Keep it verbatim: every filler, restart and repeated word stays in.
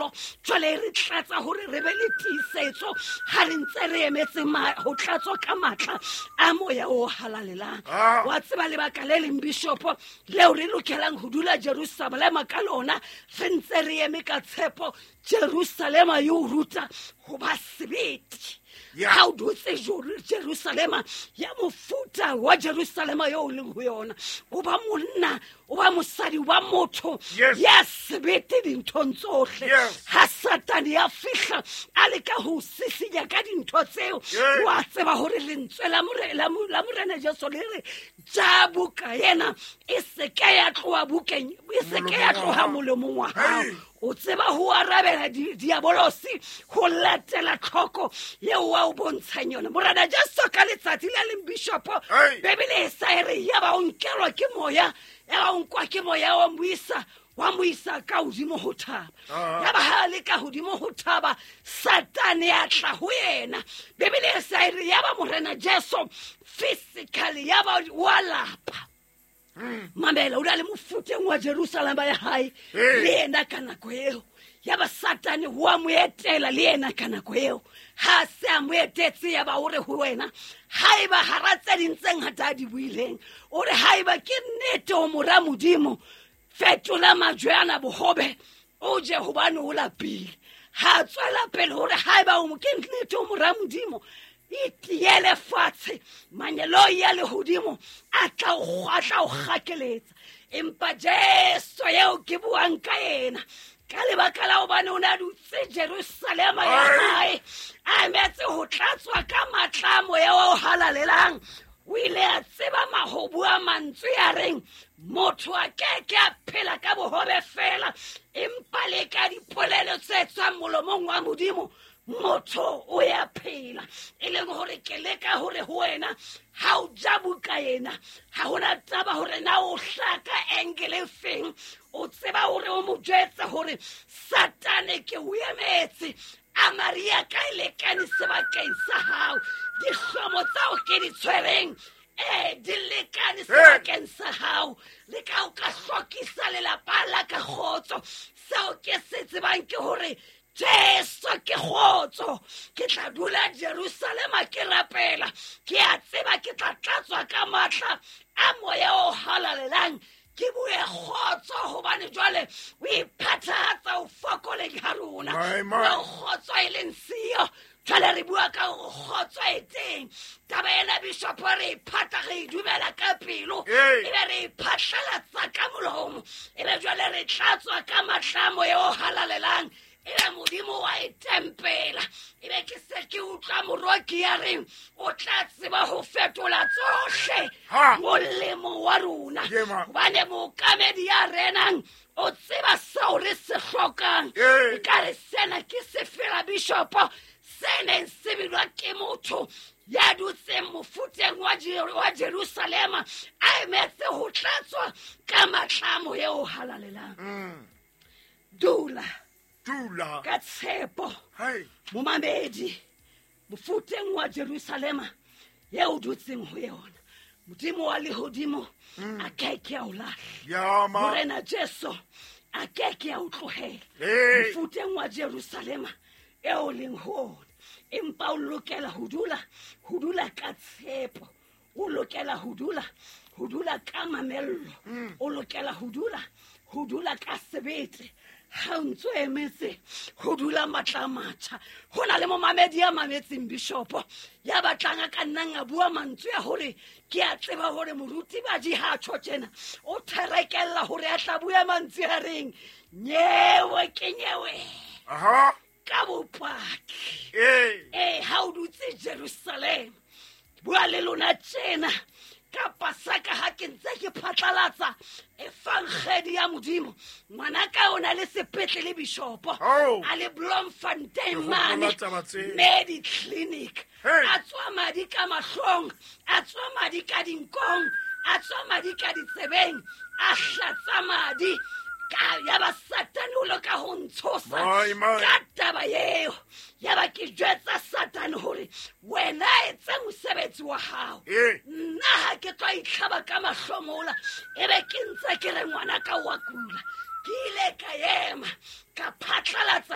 tshepo. Jwale re tlatsa hore re be le tiisetso ha re ntse re emetse ho tlatswa ka matla a moya o halalelang. Wa tseba lebaka le leng bishopo leo re lokelang ho dula Jerusalema ka lona, re ntse re eme ka tshepo. Jerusalema e o ruta ho ba sebete. Ha o dutse Jerusalema ya mofuta wa Jerusalema eo o leng ho yona, o ba monna, o ba mosadi, o ba motho ya sebete dinthong tsohle. Ha Satane ya fihla a leka ho sisinya ka dintho tseo, wa tseba hore lentswe la Morena Jesu le re ja buka ena e se ke ya tloha bukeng, e se ke ya tloha molomong wa hao. O tseba ho arabela diabolosi ho latela tlhoko eo wa o bontshang yona. Morena Jesu ka letsatsi le leng bishopo, Bibele e sa e re ya ba o nkelwa ke moya, ya ba o nkwa ke moya wa mo isa, wa mo isa ka hodimo ho thaba. Ya ba ha le ka hodimo ho thaba, Satane a tla ho yena. Bibele e sa e re ya ba Morena Jesu physically ya ba wa lapa. Mamela, o na le mofuteng wa Jerusalema ya hae le yena ka nako eo. Ya ba Satane wa mo etela le yena ka nako eo. Ha se a mo etetse, ya ba o re ho wena, haeba hara tse ding tse ngata a di buileng, o re haeba ke nnete o mora Modimo, fetola majwe ana bohobe o je hobane o lapile. Ha tswela pele hore haeba o ke nnete o mora Modimo, itiele fatshe, mangeloi a lehodimo a tla o tla o kgakeletsa. Empa Jesu eo ke buang ka yena, ka lebaka la hobane o ne a dutse Jerusalema ya hae, a emetse ho tlatswa ka matla a moya o halalelang, o ile a tseba mahobu a mantswe a reng motho a keke a phela ka bohobe fela, empa le ka dipolelo tse tswang molomong wa Modimo motho o ya phela. E leng hore ke leka hore ho wena ha o ja buka ena, ha hona taba hore na o hlaka angle feng, o tseba hore o mo jwetse hore Satane ke o emetse, a Maria ka e lekane sebakeng sa hao, dihlomo tsao ke di tshwereng eh di lekane sebakeng sa hao, le ka o ka hlokisa lelapa la ka kgotso. Seo ke se tsebang ke hore Jesu ke kgotso. Ke tla dula Jerusalema ke rapela, ke a tseba ke tla tlatswa ka matla a moya o halalelang, ke bue kgotso hobane jwale o iphathatsa o fokoleng ha rona. O kgotso e leng siyo, jwale re bua ka hore kgotso e teng. Taba ena bishopo re iphata, re e dumela ka pelo, ebe re iphatlalatsa ka molomo, ebe jwale re tlatswa ka matla a moya o halalelang, ebe Modimo wa e tempela. Ebe ke se ke utlwa moroki ya reng o tla tseba ho fetola tsohle molemo wa rona, hobane mookamedi ya renang o tseba seo re se hlokang. E ka re sena ke sefela bishopo se neng se bilwa ke motho ya dutseng mofuteng wa Jerusalema, a emetse ho tlatswa ka matla a moya o halalelang. Dula dula ka tshepo momamedi mofuteng wa Jerusalema eo dutseng ho yona. Modimo wa lehodimo a keke a o lahla, Morena Jesu a keke a o tlohela mofuteng wa Jerusalema eo leng ho ona. Empa o lokela ho dula, ho dula ka tshepo, o lokela ho dula, ho dula ka mamello, o lokela ho dula, ho dula ka sebete. Ha o ntso emetse ho dula matla a matjha. Ho na le momamedi ya mametseng bishopo ya batlang a ka nnang a bua mantswe a hore ke a tseba hore moruti Baji ha tjho tjena, o therekella hore a tla bua mantswe a reng nyewe ke nyewe. Aha. Ka bopaki. Eh. Eh, ha o dutse Jerusalema, bua le lona tjena ka Pasaka ha ke ntse ke phatlalatsa evangeli ya Modimo. Ngwana ka o na le sepetlele bishopo a le Bloemfontein mane Medi Clinic, a tswa madi ka mahlong, a tswa madi ka dinkong, a tswa madi ka ditsebeng, a hlatsa madi. Ka ya ba Satane o leka ho ntshosa ka taba eo. Ya ba ke jwetsa Satane hore wena etsa mosebetsi wa hao, nna ha ke tlo itlhaba ka mahlomola, ebe ke ntse ke re ngwana ka wa kula. Ke ile ka ema ka phatlalatsa